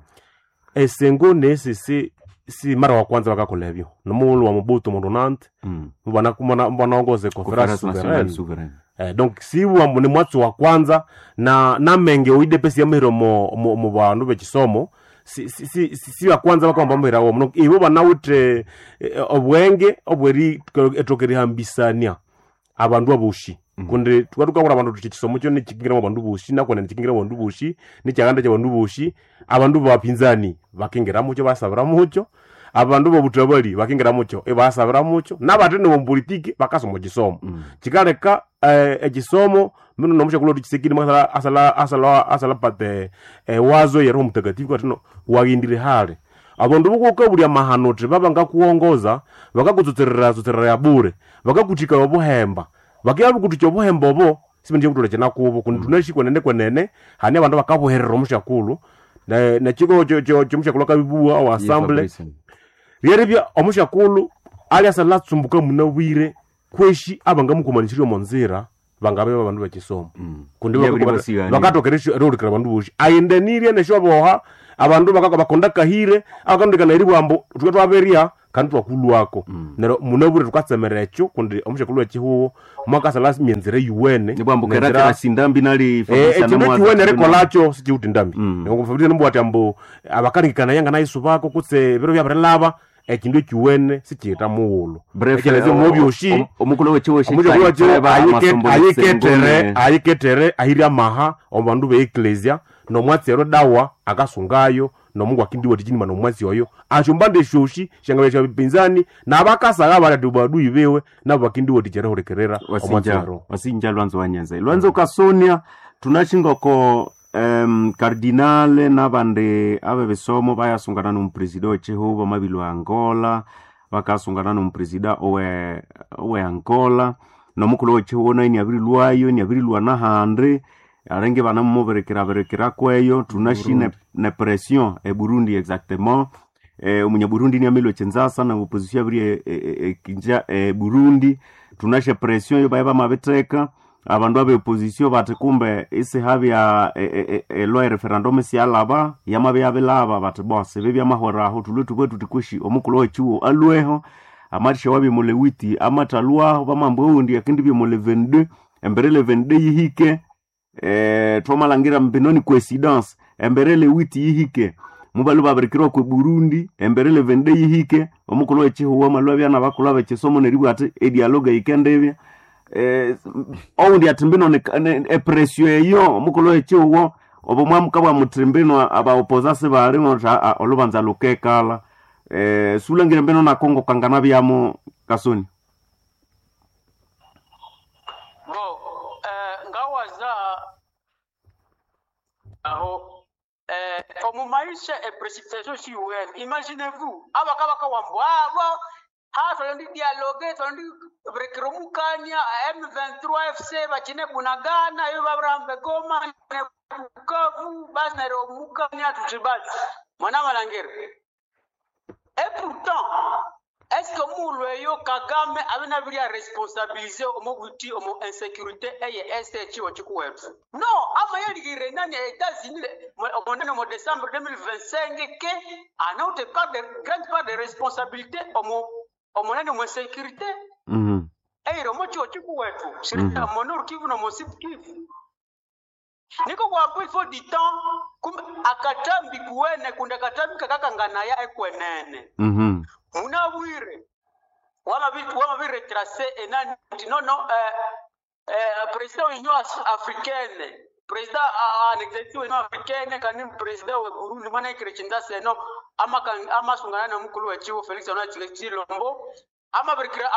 Esengo ne esese si mara wa kwanza bakakola ebyo nomughulhu wa Mobutu mundu nanti banaongoza Conference conference Nationale souveraine. Souveraine. Donc siwa ni mwatsi wa kwanza na namenge oidepesi yamahira mu bandu bekisomo si wa kwanza bakamba mahira womo. Donc ibo banawithe obwenge obweri ethoka erihambisania abandu aboshi kundi tukabura abandu tuthi ekisomo kyo nikingiramu abandu boshi nakwene nikingiramu abandu boshi nikyaganda kyabandu boshi abandu bapinzani bakingiramucho basabiramucho abandu bobutabali bakingiramucho ibasabiramucho nabathe nomupolitiki bakasoma ekisomo. Kikaleka ekisomo mino nomushakulhu wetu Tshisekedi mwasala asala asala asala pate wazo ya Roho Mtakatifu katino waghindire hale abandu bokukabulya mahano uthi babangakuwongoza bakakutsotserera tsotserera ya bure bakakuthika obuhemba bakiyabukuthuka obuhemba obo sibendie kuthola kyinakubo kundi thunashi kwenene kwenene hane abandu bakabuherera omushakulhu nekiko kyomushakulhu akabibuwa owa Ye assemble Fabrice. ryeribya omushakulhu. Aliasalatsumbuka munabwire kweshi abangamukomanisirye omo nzira bangabe babandu bekisomo kundi Yabiri basigani. bakatoka erihulikira abandu bosi ayendanirye nesyoboha abandu bakonda kahire abakandikana eribwambo thuke twaberya kandi twakulwako neryo munabwire thukatsemera ekyo kundi omusyakulu wekihuho mwakasala myenzera yuwene Nibwambu nenzira- kerakera sindambi nali Fabrice ekindu anamwaza ekiwene tibino. erikolakyo sikiwuthi ndambi Fabrice nibwati ambu abakaringikana yanga nayisu bako kutse ebiro byabirilaba ekindu ekiwene sikiyita mughulhu Bref, Ekyalezi omubyoshi omukulu wechiwo omukyakulu ayiketere ayiketere ahiri amaha omu bandu be eklesia nomwatsi ero dawa akasungayo nomungu akindiwathikyi nomwatsi oyo asyombanda esyoshi syangabya syabipinzani nabakasaga bali ati baduyi biwe nabo bakindiwathikya erihulikirira omwatsi wasinja ero wasinja lwanzo wanyenze lwanzo kasonia tunashingoko cardinale nabandi abe bisomo bayasungana nomupresida wechihuba mabili wa Angola, bakasungana nomupresida owe Angola nomukulu wechihuba naye niabirilwayo, niabirilwa nahandi alenge banamumubirekera kweyo. Tunashi ne pression e Burundi exactement. Omunyaburundi niamilwe chinzasa na opposition abiri kinja Burundi tunashe pression yo baye bamabiteka abandu abe opposition bati kumbe isihabya elwa referendum siyalaba yamabe yabilaba bati bose bibya mahweraho tulwe tubwe tuti omukulu wechiwo alweho amatisha wabye mulewiti amatalwaho bamambo oundi akindi bye mule 22 embere le 22 yihike. Twamalhangira mbinoni coincidence embere lewiti yihike mubalu babirikirwa kwe Burundi embere levende yihike omukulu wechihuwa malwa byana bakulu abekisomo neribwa ati edialogue yikendebya. Oundi ati mbino epresio eyo omukulu wechihuwa obo mwamuka bwa muti mbino abaopoza sibali olubanza lukekala. Sulangire mbino nakongo kangana byamo kasoni. Bo ngawaza aho omu maisha e précipitation siwene. Imaginez-vous abakabaka wambu abo ha twalondi dialogue twalondi burekera omukania M23 FC bakine Bunagana yo baburambe Goma ne Bukavu basi neryo omukania tuti basi mwana malangere. Et pourtant est-ce que muulu eyo Kagame abe nabiri responsabiliser omu buti omu insécurité eye este ekiwo kikuwetu no ama yeligire nani États-Unis omonene mu décembre 2025 ke anaute part de grande part de responsabilité omu omonene mu insécurité eyire omu kiwo kikuwetu mm mu Nord Kivu no mu Sud Kivu niko kwambu il faut du temps kumbe akatambi kuwene kundi akatambi kakakanganaya ekwenene. Munabwire wamabiretrace enani nti nono président wa Union africaine, président en exercice wa Union africaine kandi président wa Burundi mwana ikire seno amasungana nomukulu wechiwo Felix Antoine Tshilombo amabirikira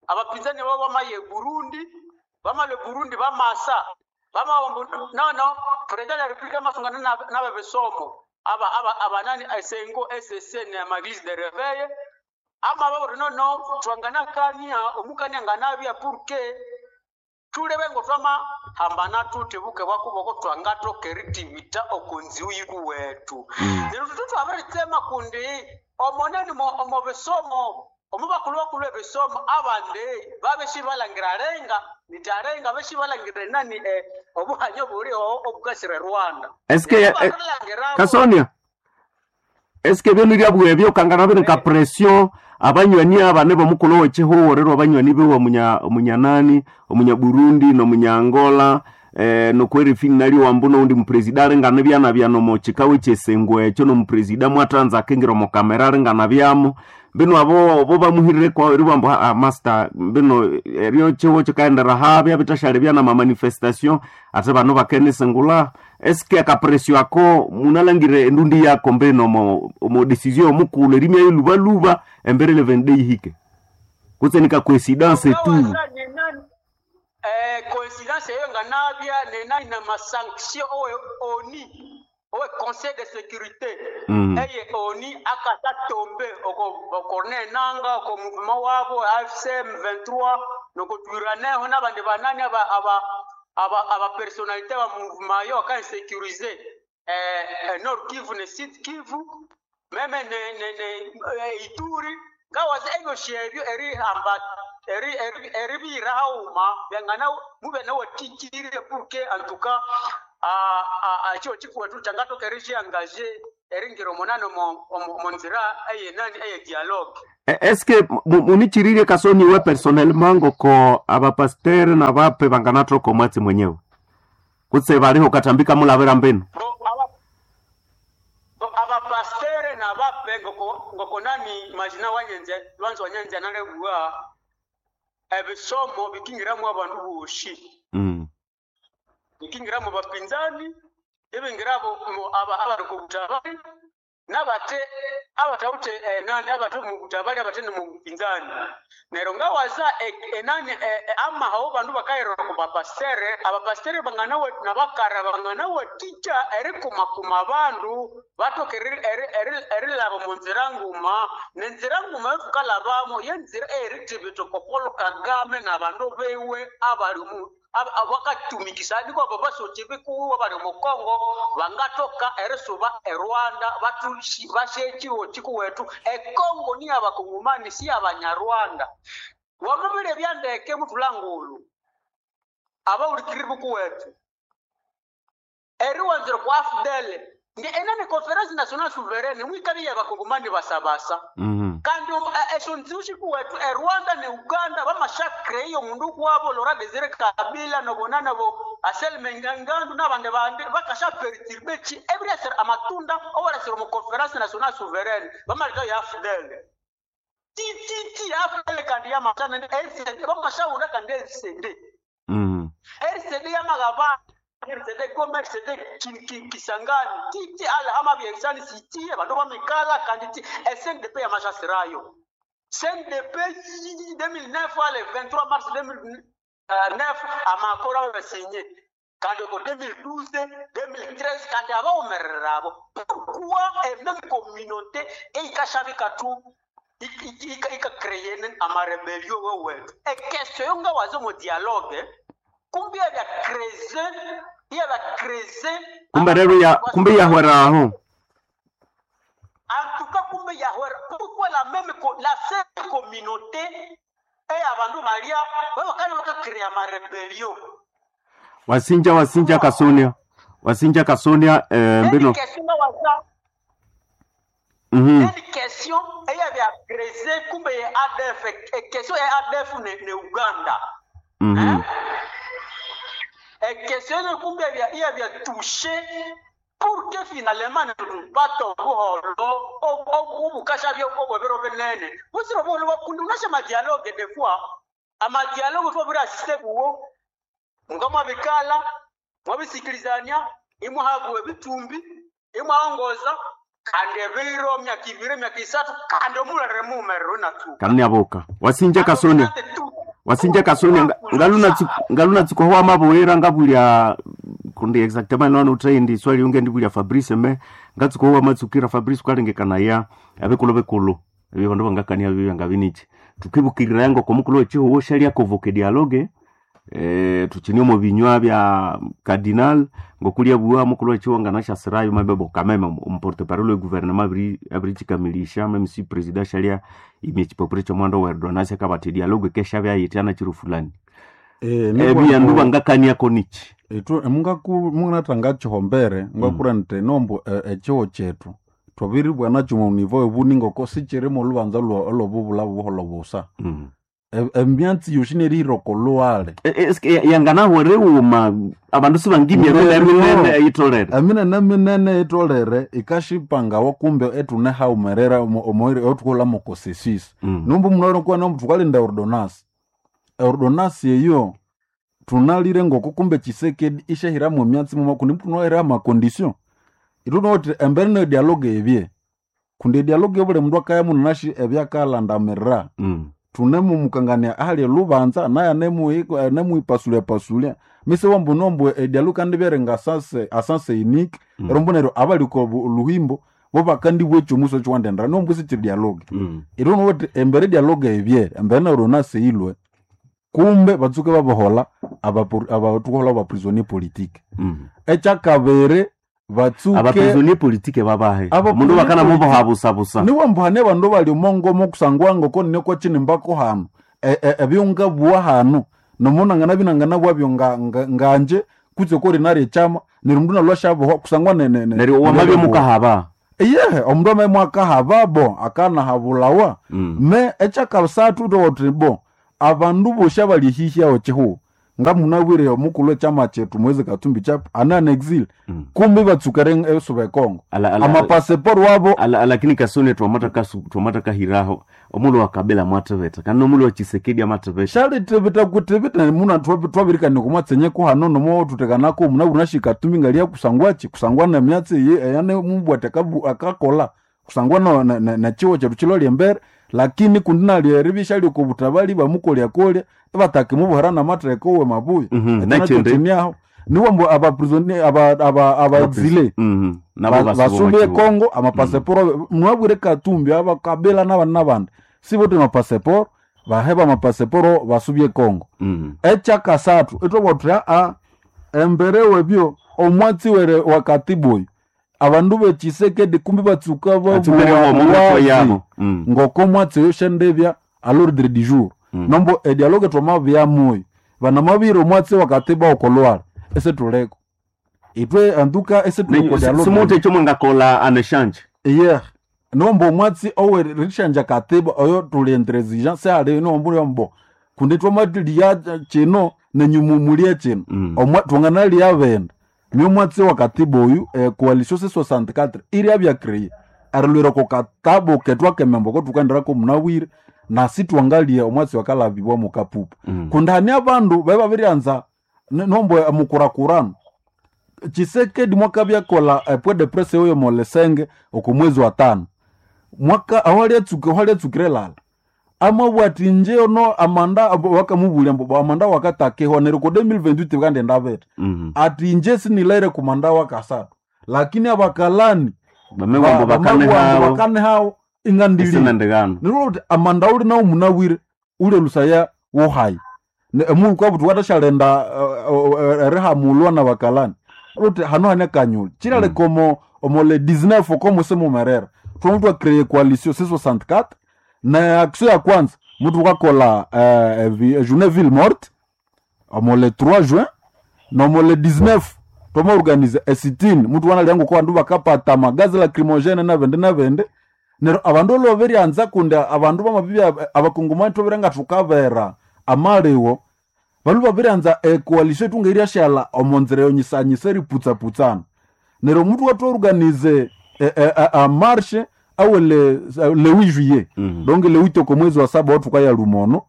abapinzani babo bamaye Burundi bamale Burundi bamasa bamawambu nono président de la République amasungana n'ababesomo aba aba abanani esengo ss na maglise de réveil ama baburi nono twangana kania omukania nganabya pour que tulebe ngo twama hambana tuti buke bwakuboko twangatokeritivita okunziu yiku wetu. Neryo tutu twabiritsema kundi omoneni omo bisomo omo bakulu bakulu ebisomo abandi babeshi balangira renga nitarenga beshi balangira nani obuhanyo buli obukasire Rwanda. Eske Neryo bakalangirabo- Kasonia, eske byonu lyabwe ebyo kangana biri nka pression abanywani abane bomukulu wechihuwo rero abanywani biwe omunyanani omunyaburundi nomunyangola nokwerifini nali wambu noundi mupresida aringana byana byano mochikawe chesengo ekyo nomupresida mwatanza akingira omukamera aringana byamo mbino abo bo bamuhirire kwa ribambo ah, master mbino eryo chiwo chikaendera habya bitashali byana ma manifestation ate bano bakenesengula. Eske akapresio ako munalangire endundi yako mbino mo decision omukulu erimya ilubaluba embere 11 yihike kutse nika coincidence tu? Ngawaza nenani coïncidence eyo nga nabya nenani na masanction owe oni owe conseil de sécurité eye oni akata tombe oko Corneille Nanga oko mouvement wabo AFC M23 nokotwiraneho n'abandi banani aba personnalité ba mouvement yo aka insécuriser Nord Kivu ne Sud Kivu même ne Ituri. Ngawaza ebyosi ebyo erihamba eribiyira haghuma byangana mube nawathikirye pour que antuka ekyo kikuwethu kyangathoka erisyangaje eringira omunani omonzira eyenani eye dialogue. Eske munichiririe Kasoni we personnellement ngoko abapasteur nabape banganathoka omwatsi mwenyewe kutse baliho katambika mulabira mbinu? Bo abapastere nabape ngoko nani majina wanyenze lwanzo wanyenze nalebwa ebisomo bikingiramu abandu boshi. Bikingiramu bapinzani ibingirabo abali kubutabali nabate abatawute nani abate mubutabali abate mubupinzani neryo ngawaza enani amahawo bandu bakayirora ku bapastere abapastere banganawe nabakara banganawatikya erikumakuma abandu batoka erilaba omunzira nguma nenzira nguma yotukalabamo yenzira eyerithibitha oko Paul Kagame nabandu biwe abali bakatumikisa niko abo basoki bikuwiwe bali omu Congo bangathoka erisuba e Rwanda basye ekiho kikuwethu. E Congo niyo abakongomani si abanyarwanda. Wamabirya ebyandeke muthulangulu abawulikiriri bukuwethu eriwanzira okwa AFDL enani Conference Nationale Souveraine mwikabya abakongomani basabasa. Kandi esyo nziwu sikuwethu e Rwanda ne Uganda bamashakireyo omundu kwabo Laurent Desire Kabila nobona nabo Anselme Ngandu nabandi bandi bakashaperturbe ki ebiryasira amatunda owaryasira omu Conference Nationale Souveraine bamaleka ya AFDL ti AFDL kandi yamasana RCD bamashawula kandi RCD. RCD yamagaba RCD Goma RCD Kisangani titi alhama byensani siti abandu bamikala kandi ti SNDP yamashasirayo SNDP 2009 ale 23 mars 2009 amakoro abasinye kandi ko 2012 2013 kandi abawumerera abo pourquoi même communauté eyikashabika tu ikakreye amarebelio wewethu ekestion yo ngawaza omu dialogue kumbe yabakreze kumbe rero ya kumbe yahweraho. En tout cas kumbe yahwera pourquoi la même la seule communauté eyabandu balya babakana bakakrea amarebelio. Wasinja Kasonia wasinja Kasonia mbino Une question eyabya creuser kumbe ya ADF question ya ADF ne Uganda. Question ne kumbe ya touché pour que finalement tupate obuholo obukasha byo obwebero binene busiro buholo kundi unasha madialogue des fois amadialogue fo buri assiste kuwo ngamwabikala mwabisikilizania imwahabwe bitumbi imwaongoza kandi ebiro myaka ibiri myaka isatu kandi omulere mumerero natu kandi aboka wasinja Kasonia wasinja Kasonia ngaluna tsikohwa mabuwera ngabulya kundi exactement nono utrendi swali unge ndibulya Fabrice me ngatsikohwa matsukira Fabrice kwalengekana ya abekulu bekulu ebyo bandu bangakania bibya ngabinichi tukibukirira yango komukulu echiho shalia convoque dialogue tuchini omu binywa bya cardinal ngokulya bua mukulu echiho nganashasirayo mabebo kameme omporte parole we gouvernement abiri chikamilisha meme si president shalia imye chipapuro chomwando wa ordonnance akabati dialogue kesha bya yitana chiro fulani. Ebyandu bangakania konichi itu mungatanga chihombere ngakura nti nombo echiho chetu twabiribwa nakyo mu nivo ebuni ngoko sichirimo olubanza olobubula buholo busa. Emyatsi yoshi nerihiroko luwale. Yanganahwere uma abandu sibangimya minene eyitolere eminene minene eyitolere ikashipangawa kumbe etune haumerera omoiri otukola mokosesisi. Nombu munoro kuwa nombu tukalinda ordonasi ordonasi eyo tunalire ngoko kumbe Tshisekedi ishahiramu emyatsi muma kundi tunohera amakondition itunoti embere ne dialogue ebye kundi dialogue buli mundu akaya munashi ebyakalandamirira. Tunemumukangania ahali lubanza naye anemuipasulia pasulia mise wambu nombu edialogue kandi byerenga asase unique erombo neryo abaliko luhimbo bo bakandibwa ekyomuso kiwandendera nombu sichiri dialogue. Itunoti embere dialogue ebye embere neryo naseilwe kumbe batsuke babohola abatukohola ba prisonnier politique. Ekyakabiri Batsuke Abaprisonnier politique babahe. Aba Mundu bakana prisonnier mubo habusabusa. Niwe mbuhane abandu bali omongomo kusangwa ngoko niko kinimbako hanu ebyonga bwa hanu nomunangana binangana bwabyo nganje kutse kori nari echama neryo mundu nalwashabohwa kusangwa Neryo wamabye mukahaba. Iye omundu amaye akahaba bo akanahabulawa. Me ekyakasathu towoti bo abandu bosi abali hihi aho chihugo ngamunabwire omukulhu echama kyethu Moise Katumbi Chapwe ane an exil. Kumbi batsukere esuba ekongo amapasiporo wabo. Lakini kasone twamata kasu twamata kahiraho omulo wa Kabila mwatebeta kandi omulo wa Chisekedi amatebeta. Shalitebeta kutebeta muna twabirikani kumwatsenyeko hano nomo tutekanako muna nashi Katumbi ngalia kusangwachi kusangwa na myatsi eyane mubwate akakola kusangwa na chiwo chetu chiloli embere lakini kundi nalieribisha lyokobutabali bamukolya kolya batake mubuhera namatheko we mabuya. Nachende. Ekyo niwo mbu abaprisonnier aba exilé Nabo basubye Kongo amapaseporo mwabwire Katumbi abakabila n'abandi n'abandi sibote amapaseporo baheba amapaseporo basubye Kongo. Ekyakasathu itwabwathuthi aa embere webyo omwatsi were wakatibu oyu abandu bechisekedi kumbi batsuka Atsumere yabo. Ngoko mwatsi oyo shendebya à l'ordre du jour. Nombo edialogue twamabyamuyo banamabire omwatsi wakatiba okolwala ese tuleko itwe anduka ese tuleko dialogue. Simuntu ekyo mwangakola aneshanje. Iye nombo omwatsi owerishanja katiba oyo tuli intransigent seali nombo mbo kundi twamatilia kino nenyumumulia kino. Twanganalia benda niyo mwatsi wa katiba oyu coalition C64 iri abyacreye erilwira ko katabo ketwa kemembo ko tukaenderako munabwire nasi twangalia omwatsi wakalabibwa mukapupu. Kundi hani abandu bae babiryanza nombo mukurakurano Chisekedi mwaka byakola point de presse oyo molesenge oko mwezi wa tano mwaka awaliatsukire lala amabwati nje ono amanda wakamubulya mbu amanda wakatakehwa neryo ko 2028 bikandenda bete. Ati nje sinilaire kumanda wakasatu lakini abakalani Bamewambo bakane hao. bakane hao ingandili Esinandigano. nirwo uti amanda uli nawo munabwire ule lusaya wohayi emulu kwabuti watashalenda erihamulwa na bakalani uti hano hane kanyuli chilale komo omo le 19 komo semumerera twamu twacreye coalition C64 na action ya kwanza mutu ukakola journée ville morte omo le 3 juin nomo le 19 twamaorganize esitini mutu wanalyangu ko bandu bakapata magazi lacrimogene nabende nabende neryo abandu olwoberyanza kundi abandu bamabibya abakongomani twabere nga thukabera amaliwo balu babiryanza ecoalition itunga iryashala omonzira yonyisanyisa eriputsaputsana neryo omutu watwaorganize amarshe awe le 8 juillet. Donc le 8 oko mwezi wa saba wathukaya lumono.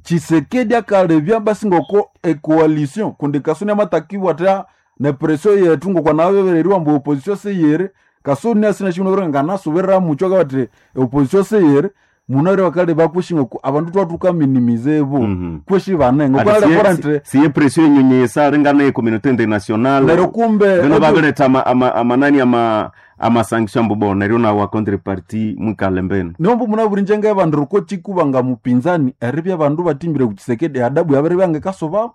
Chisekedi akalebya basi ngoko ecoalition kundi kasoni amatakibwa ta ne pression yetu ngoko nabebereriwa mbu opposition seyere kasoni asina shino nganasubirira mucho kabati opposition seyere munare bakale bakushinga ku abandu twatuka minimize bo. Kweshi banengo kwale korante. Siye pression enyonyesa ringana ye communauté internationale. Neryo kumbe Bino babireta amanani ama sanction mbu bo neryo na wa contrepartie mwikalembeni. Nombo munaburi njenga abandu ruko chikubanga mupinzani eribya abandu batimbire ku Chisekedi adabu yabere byange kasoba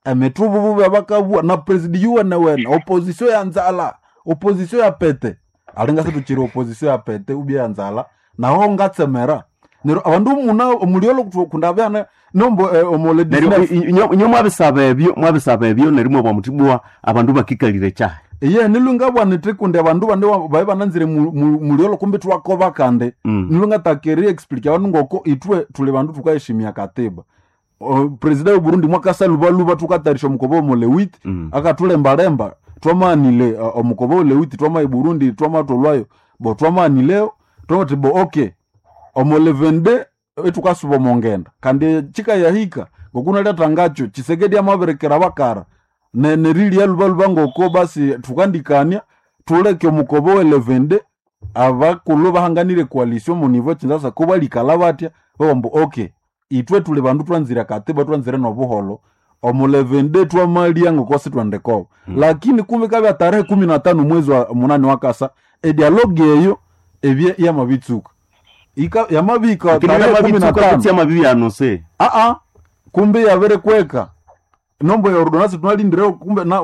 emithubu babakabwa na president yuwene wene opposition ya nzala opposition ya pete alinga situchiri opposition ya pete ubya ya nzala naho ngatsemera neryo abandu muna omuliolo kundabyana nombo omole Neryo inyo mwabisaba ebyo mwabisaba ebyo neryo mwabwa mutibwa abandu bakikalire kyahe. Iye nilunga bwanete kundi abandu bande babe bananzire muliolo kumbi twakoba kande. Nilunga takeri explique abandu ngoko itwe tuli bandu tukaheshimia katiba. President wa Burundi mwakasa lubaluba tukatarisha omukobo omole wit. Akatulembalemba twamanile omukobo ole wit twama Burundi twamatolwayo bo twamanileo twamati bo okay omole 22 etukasuba omongenda kandi chikayahika ngokunaleta ngacho Chisekedi amaberekera bakara nerilia lubaluba ngoko basi tukandikania tuleke omukobo we 11 abakulhu bahanganire coalition mu niveau Kinshasa ko balikala batya babambu okay itwe tuli bandu twanzire katiba twanzire nobuholo omu 11 twamalia ngoko sitwendekobo. Lakini kumbe kabya tarehe 15 mwezi wa munani wakasa edialogue eyo ebye yamabitsuka ika yamabika Lakini tarehe kumi na yamabitsuka tano kutsi yamabibi anonse. Aa kumbe yabere kweka Nombo ordonance tunalindire kumbe na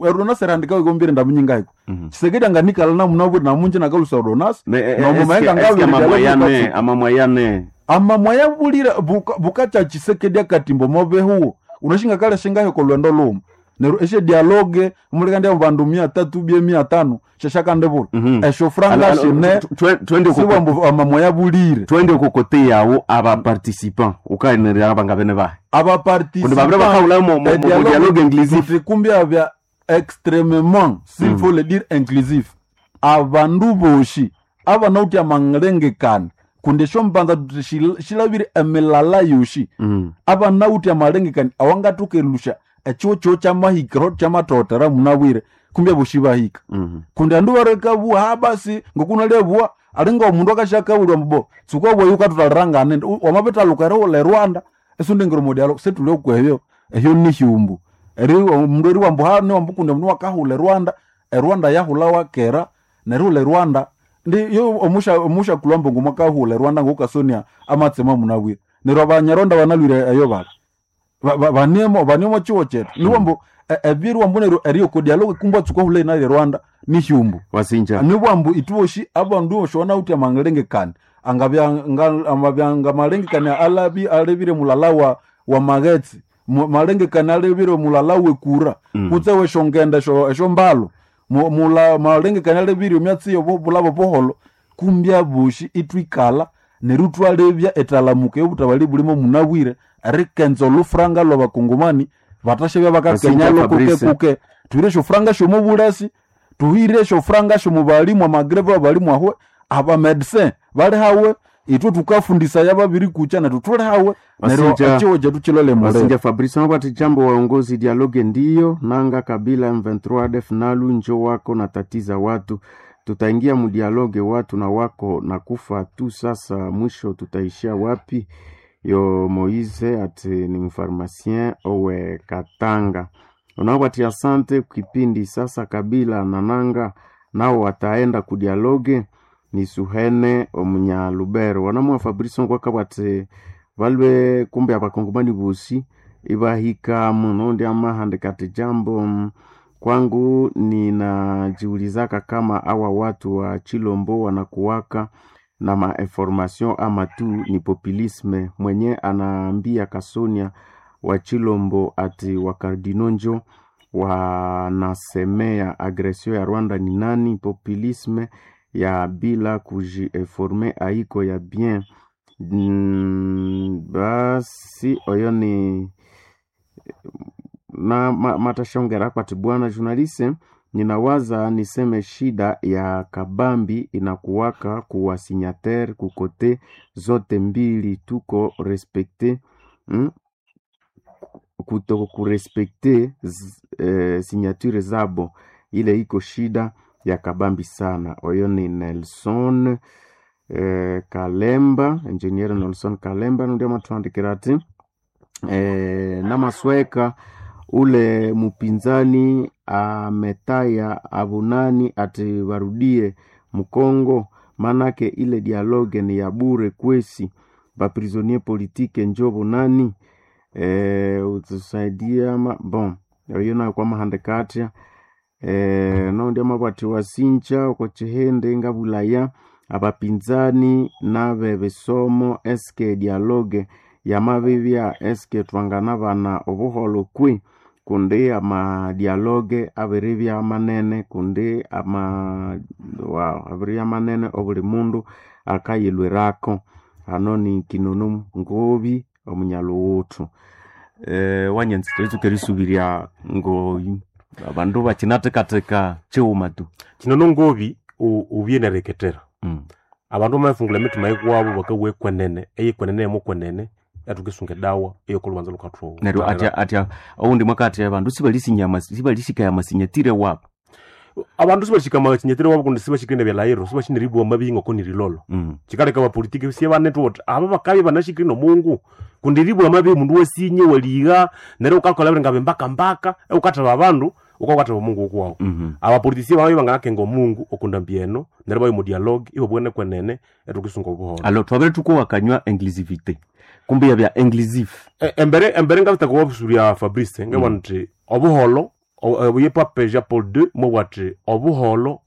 ordonance erandika ikombire ndamunyingaiko. Tshisekedi anganikala namunabwire namunje nakalusa ordonance. Nomo maenga ngabiri amamwayane amamwayane amamwaya bulire bukacha Tshisekedi akatimbo mobehuwo unashinga kale shingahe kolwendo luma neryo eshe dialogue mulikandi bandu 300 bie 500 sheshakandebula esho franga shine twende siwambu amamwaya bulire twende kukote yawo aba participant ukaenera abanga bene bahe aba Kundi babire bakahula mu dialogue inclusif. kumbya bya extrêmement s'il faut le dire inclusif abandu boshi abanauti amalengekana kundi esyo mbanza tuti shilabire emilala yoshi abanauti amalengekana awangatoka elusha ekyo kyo kyamahikiro kyamatotera munabwire kumbya boshi bahika kundi andu barekabuwa ha basi ngokunalebua alinga omundu akashakabulwa mbo tsukwa bwayu ukatutalirangane wamabitaluka erighula erwanda esundingiro mudialo setuli okwebyo ehyo nihyumbu eri omundu eriwambu ha niwambu kundi omundu wakahula erwanda erwanda yahula wakera nerihula erwanda ndi yo omusha omusha kulwambo ngumwakahula erwanda ngokasonia amatsema munabwire neryo abanyarwanda banalwire eyo bali banemo banemo chiwo chetu niwambu ebyeriwambu neryo eriyoko dialogue kumbwa tsukahula inali rwanda nihyumbu wasinja niwambu ituwoshi abandu boshi uti amalengekane amabya malengekane alabi alebire mulala wa magetsi malengekane alebire mulala wekura kutse weshongenda esho mbalo malengekane alebire myatsi yobulabo boholo kumbya boshi itwikala neryo twalebya etalamuka yobutabali bulimo munabwire erikenza olufuranga lwabakongomani batashebya bakakenya Wasinja kuke Fabrice. kuke tuhire eshofuranga shomubulasi tuhire eshofuranga shomubalimu amagreve abalimu ahwe abamedecin bali hawe itwe tukafundisaya babiri kucha nethu tuli hawe neryo Wasinja- echiwo chetu chilole muliro Wasinja Fabrice wabati jambo waongozi dialogue ndiyo nanga Kabila M23 ADF nalu njo wako na tatiza watu tutaingia mudialogue watu na wako na kufa tu sasa mwisho tutaishia wapi yo Moise ati ni mfarmasien owe Katanga unawati asante kipindi sasa Kabila na nanga nao wataenda kudialogue ni Suhene omunyalubero wanamwa Fabrice ngwakabwati balwe kumbe abakongomani bosi ibahika muno ndi amahandika ati jambo kwangu ninajiulizaka kama awa watu wa Chilombo wanakuwaka na mainformation ama tu ni populisme. Mwenye anaambia Kasonia wa Chilombo ati wakardino njo wanasemea agresio ya Rwanda ni nani? Populisme ya bila kujiinforme aiko ya bien. Basi oyo ni na matashongera kwati bwana journaliste, ninawaza niseme shida ya kabambi inakuwaka kuwa signataire kukote zote mbili tuko respecte kuto kurespekte signature zabo, ile iko shida ya kabambi sana. Oyo ni Nelson Kalemba, engineer Nelson Kalemba ndio matuandikira ati namasweka ule mupinzani ametaya abunani ati warudie Mkongo, manake ile dialogue ni ya bure kwesi baprisonnier politique njo bunani utusaidia bon oyo nayo kwa mahandikatia no ndio mabwati wasincha uko chihende ngabulaya abapinzani nabe bisomo eske dialogue yamabibya eske twangana bana obuholo kwi kundi amadialogue abiribya manene kundi ama wow, abiribya manene obuli mundu akayilwirako hano ni kinunu ngobi omunyaluwuthu wanyanzi twetsuka erisubiria ngoyu abandu bakinatekateka chiwuma tu kinono ngobi ubye nereketera abandu bamafungula emitima yikwabo bakawa ekwenene eyekwenene emukwenene yathukisunga edawa eyokolubanza lukathowa neryo atya atya oundi mwaka atya abandu sibalisinyama sibalisikaya amasinyatire wabo abandu sibashika amasinyatire wabo kundi sibashikire nebyalahiro sibashineribwa mabi ngoko nirilolo chikaleka abapolitiki sie banethu oti aba bakabya banashikire nomungu kundi ribwa mabi mundu wasinye waliga neryo ukakola biri ngabe mbaka mbaka ukathaba abandu. Ukakwatha omungu ukwawu. Abapoliticiens babaye banganakenga omungu okundambi eno neryo baye mu dialogue ibabwene kwenene etukisunga obuholo. Alo twabere tukuwakanywa inclusivité kumbe yabya inclusive. Embere ngabitaka wabusurya Fabrice ngabona nti obuholo obuye Pape Jean Paul II mubwati obuholo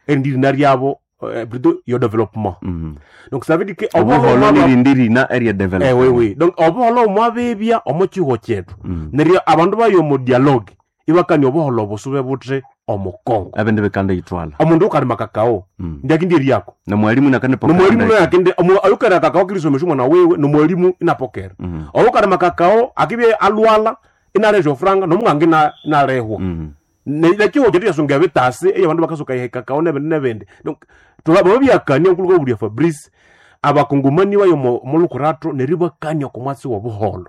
erindi ryabo, plutôt yo développement. Donc ça veut dire que obuholo nirindi rina erya Eh, oui, development. oui. Donc obuholo mwabibya omo kiho kyetu neryo abandu bayo omu dialogue ibakania obuholo busube buthi omu Congo. Abende bekanda yitwala. Omundu ukalima kakao ndiakindi eryako nomwalimu nakane nomwalimu nayakindi ayukera kakao kirisomesha omwana wiwe nomwalimu inapokera. Oyukalima kakao akibye alwala inalesha ofuranga nomunganga inalehwa. Nekiho kyetu kyasunga ebitasi eyo abandu bakasuka ihe kakao nebindi nebindi. Donc babyakania nkuluka obulya Fabrice abakongomani bayo molukurato neryo ibakania oku mwatsi wobuholo.